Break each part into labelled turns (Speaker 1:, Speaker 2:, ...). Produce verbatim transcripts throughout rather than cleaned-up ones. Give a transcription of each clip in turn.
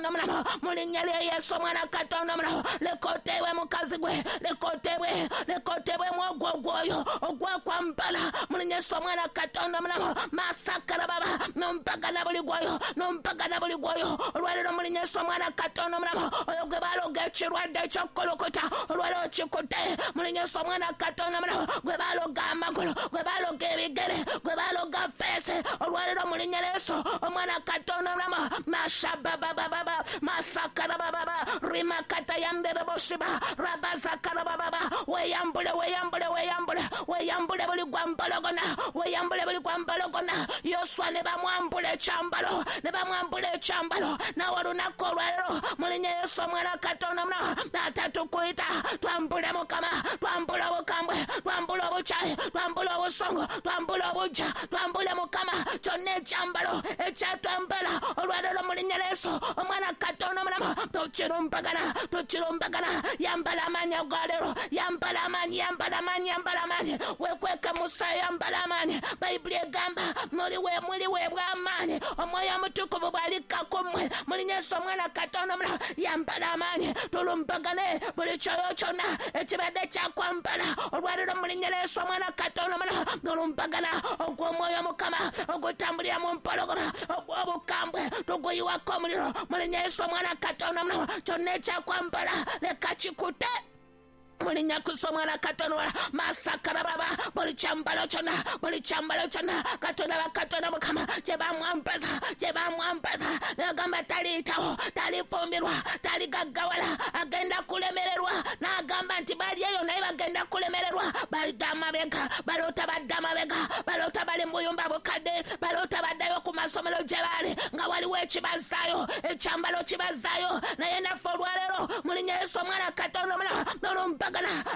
Speaker 1: Katonda omulamu, mu linnya lya Yesu omwana Katonda omulamu, leka oteebwe mukazi gwe, leka oteebwe, leka oteebwemu ogwo ogwoyo ogwakwambala mu linnya Yesu omwana Katonda omulamu, masakara baba nompagana buli gwoyo, nompagana buli gwoyo olwaleero mu linnya Yesu omwana Katonda omulamu, oyo gwe baloga ekirwadde eky'okukulukuta olwaleero kikute mu linnya Yesu omwana Katonda omulamu, gwe baloga amagulu, gwe baloga ebigere, gwe baloga feesi olwaleero mu linnya Yesu omwana Katonda omulamu, mashababababa masakarabababa rimakatayandereboshiba rabazakarabababa, weyambule weyambule weyambule weyambule buli gwambalogona, weyambule buli gwambalogona. Yoswa ne bamwambula ekyambalo, ne bamwambula ekyambalo, nawe olunaku olwaleero mu linnya Yesu omwana Katonda omulamu, taata tukuyita twambule Mukama, twambule obukambwe, twambule obukyayi, twambule obusungu, twambule obujja, twambule Mukama kyonna ekyambalo ekyatwambala olwaleero mu linnya Yesu omwana Katonda omulamu, tukirumbagana tukirumbagana. Yambala amaanyi agaleero, yambala amaanyi, yambala amaanyi, yambala amaanyi, wekweke Musa, yambala amaanyi. Bayibuli egamba muliwe muliweebwa amaanyi, omwoyo omutukuvu bw'alikka ku mmwe mu linnya Yesu omwana Katonda omulamu, yambala amaanyi, tulumbagane buli kyoyo kyonna ekibadde kyakwambala olwaleero mu linnya Yesu omwana Katonda omulamu, tulumbagana ogw'omwoyo Mukama ogutambulira mu mpologoma ogw'obukambwe tuguyiwako omuliro mu linnya Yesu omwana Katonda omulamu, kyonna ekyakwambala leka kikute mu linnya Kristo omwana Katonda, masakarababa buli kyambalo kyonna, buli kyambalo kyonna Katonda bakatonda Mukama kye bamwambaza, kye bamwambaza, n'agamba taliyitawo, talifumbirwa, taligaggawala, agenda kulemererwa, n'agamba nti bali eyo naye bagenda kulemererwa, balidde amabega, baloota badde amabega, baloota bali mu buyumba bukadde, baloota baddayo ku masomero gye baali nga waliwo ekibazaayo, ekyambalo kibazaayo, naye naffe olwaleero mu linnya Yesu omwana Katonda omulamu, nolumbagana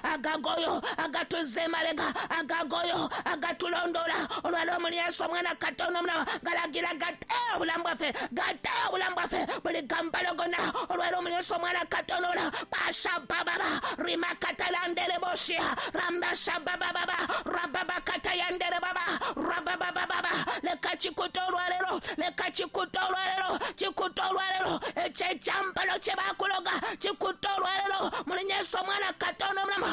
Speaker 1: agagoyo agatuzza emabega, agagoyo agatulondoola olwaleero mu linnya Yesu omwana Katonda omulamu, galagira gate obulamu bwaffe, gate obulamu bwaffe buli gambalo gonna olwaleero mu linnya Yesu omwana Katonda omulamu, bashabababa rimakatalandereboshia rambashabababa rababakatayanderebaba rababababa, leka kikute olwaleero, leka kikute olwaleero, kikute olwaleero ekyo ekyambalo kye baakuloga kikute olwaleero mu linnya Yesu omwana Katonda omulamu.